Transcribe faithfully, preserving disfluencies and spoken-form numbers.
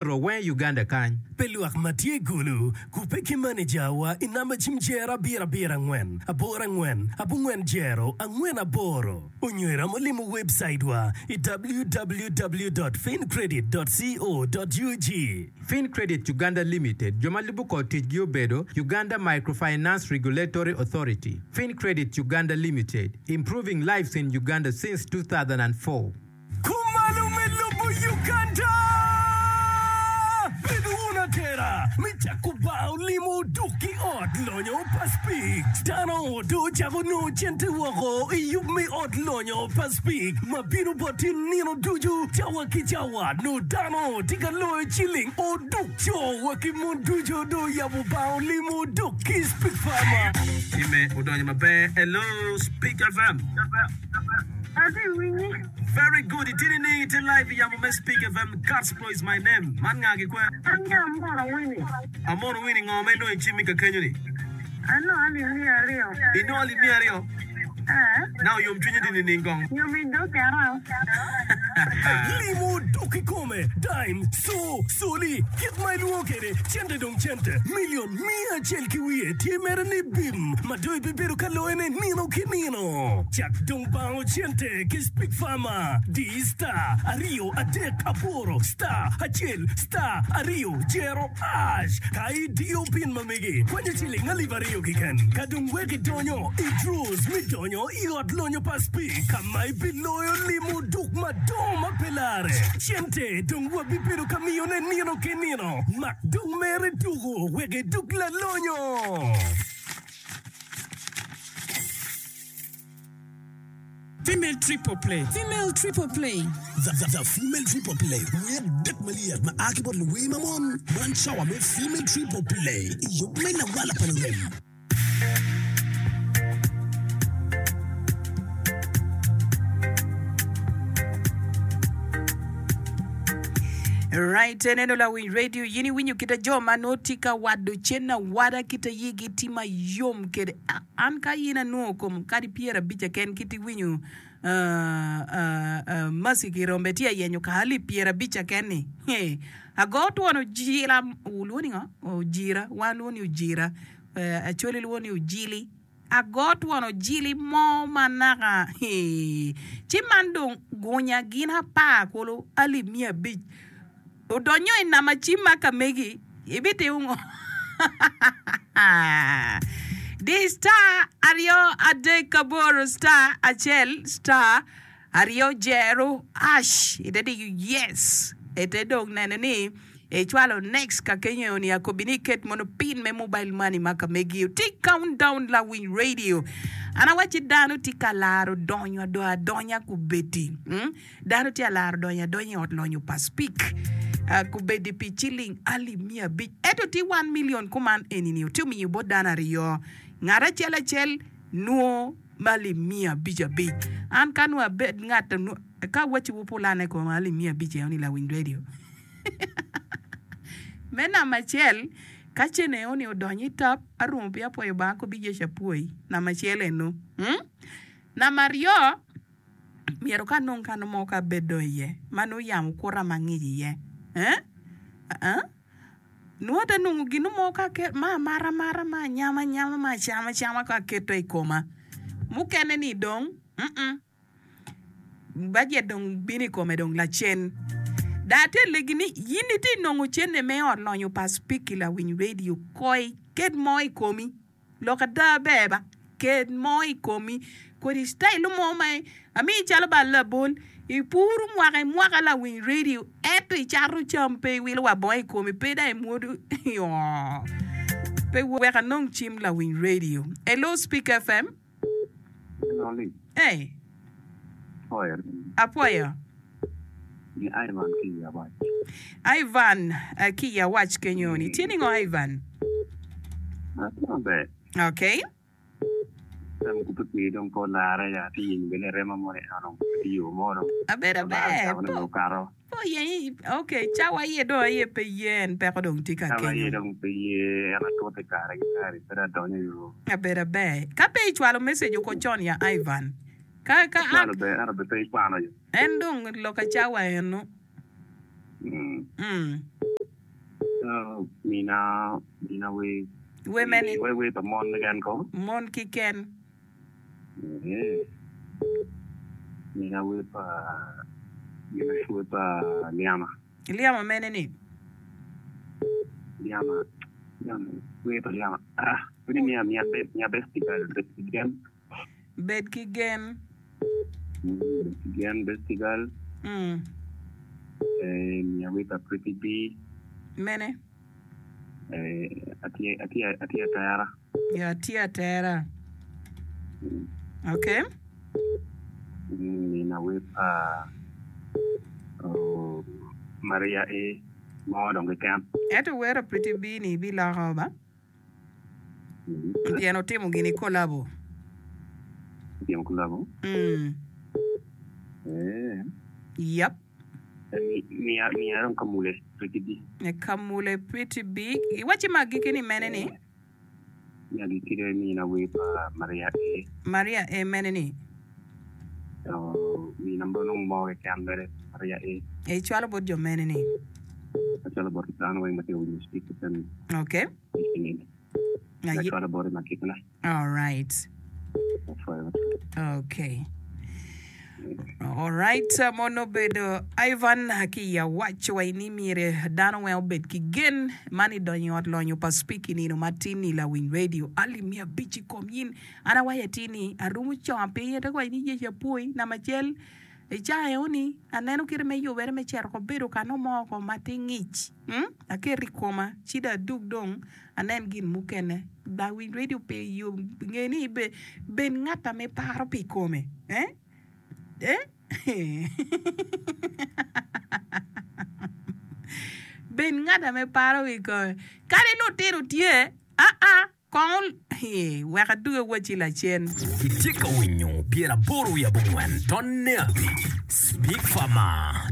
Ro weng i Uganda kany. Pe lwak ma tye i Gulu kubbe ki manejawa i namba cim jero abiro abiro angwen aboro angwen abongwen jero angwen aboro onyo iromo limo webcaitwa i www dot fincredit dot co dot ug. Fincredit Uganda Limited jo ma lubo kor ticgi obedo, Uganda Microfinance Regulatory Authority, Fincredit Uganda Limited, Improving lives in Uganda since two thousand and four. Kumalo me lobo Uganda! Bedo wun atera me cako bar olimo oduk ki ot lonyo pa Speke. Dano dong ocako nongo cente woko i yub me ot lonyo pa Speke ma bino boti nino ducu cawa ki cawa. Nongo dano tye ka loyo ciling oduk. Co wa ki mon ducu dong oyabo bar olimo oduk ki Speke Pharma. Time odonyo maber. Hello Speke FM. Atye winyi. Very good itye nining itye live i yamo me speak FM Gospel is my name man nga gi kwe? An gi Amono Winnie. Amono Winnie ngo ma inongo i cimmi ka kenyo ni? Anongo alip miya aryo. Inongo alip miya aryo? Ee. Now yom cwinyi tye nining kong? Yom i dog kera. Limo dok kikome, dime, co, coli, kit ma ilwongo kwede, cente dong cente, milion miya acel ki wiye tye mere ni bim ma dong ibibedo ka loyone nino ki nino. Cak dong bango cente ki Speak Farmer, di star aryo adek aboro star acel star aryo jero ash ka idiyo pin ma megi kwanyo ciling alip aryo keken ka dong wek idonyo i draws me donyo i ot lonyo pa Speak ka ma ibiloyo limo duk madongo ma pe larre. Cente dong wabibedo ka miyone nino ki nino. Mak dong mere tuko wek iduk lalonyo. Female Triple Play. Female Triple Play. The, the, the Female Triple Play, wer adek malyet ma a ki bot luwer ma mon. Man cawa me Female Triple Play i yub me lawala pa lurem. Right, eneno lawiny radio yin iwinyo kita jo ma nongo tye ka wado cen awada kita yigi tye mayom kede. Ah, an ka yin anwongo kom kadi pyerabic keken kit iwinyo Mercy Kirombe tye ayenyo ka alip pyerabic keken-ni, ago twon ojira, wulwongo ni ngo? Ojira, wan lwongo ni ojira, Acholi lwongo ni ojili, ago twon ojili mo ma naka ci man dong gunya gin apar kulu alip miya abic. Odonyo i nama cim ma ka megi, ibitimo ngo? Di star aryo adek aboro star acel star aryo jero hash ite diyo yes ite dong neno ni icwalo next ka kenyo ni akobi ni iket mono pin me mobile money ma ka megi oti count down lawiny radio an awacci dano tye ka laro donyo adonya kubedi. Dano tye alaro donyo adonya i ot lonyo pa Speke kobedi pi ciling alip miya abic ento tye one million kuman enini tye omiyo bot dano aryo ngat acel acel nwo ma alip miya abic abic an ka nwo abed ngat ka awaci wu pulane kom alip miya abic eno ni lawiny radio me namba acel ka cene eno ni odonyo i tap arumo piny apwoyo Lubanga kobi Yecu apwoyi namba acel eno namba aryo Myero ka anong kano mo ka abedo iye ma nongo yamo kuta ma ngic iye. Eh? Nongo ate nongo gin mo ka ma amata amata, ma anyama anyama, ma acama acama ka aketo i koma. Mukene ni dong, mm bajet dong bino i kome dong lacen. Dong atye alegi ni in itye nongo cente me ot lonyo pa Spiki lawiny radio koi ket mo i komi. Lok ada ber ba, ket mo i komi kodi citayil mo ma amii calo ba labol ipuru mwaka i mwaka lawiny radio ento icato cam pe iwilo wa bongo i komi pe dong imwodo oo pe wek anong cim lawiny radio. Hello Speak FM. Hey. Apwoyo. Ivan ki i Awac kenyo ni tye ningo Ivan? Okay. Abedo aber. Po yenyi okay cawa aye dong aye pe ye en peko dong tye ka kenyo. Abedo aber. Ka pe icwalo message oko con ya Ivan. Ka ka En dong loka cawa eno. Mm. Mm. So, mina mina we Wer mene? We wer pa mon keken ko. Mon kiken. Eh. Mina wer pa mina wer pa Liama. Liama mene ni? Liama. Liama. Wer pa Liama. Ah, pwede miya miya best miya best girl best gen. Bed ki gen. Mm, best gen best girl. Mm. Eh, miya wer pa Pretty B. Mene? Eh, atye atye atye atera. Ya atye atera. Okay. Mm, mina wer pa oh, Maria A. Mo dong keken. Ento wero Pretty B ni biloko ba? Pien otimo gini kolabo. Otimo kolabo? Mm. Eh. Yep. Miya miya dong kamule Pretty B. Kamule Pretty B. Iwaci ma agikki ni mene ni? Mi agikki de mina wer pa Maria A. Maria A mene ni? Oh, mina nongo mo keken mere Maria A. Icwalo bot jo mene ni? Acwalo bot dano weng ma tye ka winyo Speak FM. Okay. Aye. Acwalo bote ma kitna. All right. Apwoyo. Okay. All right, mono obedo Ivan ki i awaco wa ni myero dano weng obed ki gen man idonyo i ot lonyo pa Speak i nino matin ni lawiny radio alip miya abic i kom in. An awaco atir ni arumo conga piny ate waco ni Yecu apwoyi namba acel i cawa eni aneno kite me yubere me cito ko bedo ka nongo mo ko ma tye ngic mm? Aketo i koma ci dong adug dong anen gin mukene. Lawiny radio pe yo nge ni be bed ngat ame paro pi kome eh? Eh? Bed ngat ame paro pi kome. Kadi lutino tye, aa, kong ol, wek adug awacci lacen. Itye ka winyo pyeraboro wiye abongwen tonne abic Speak Farmer.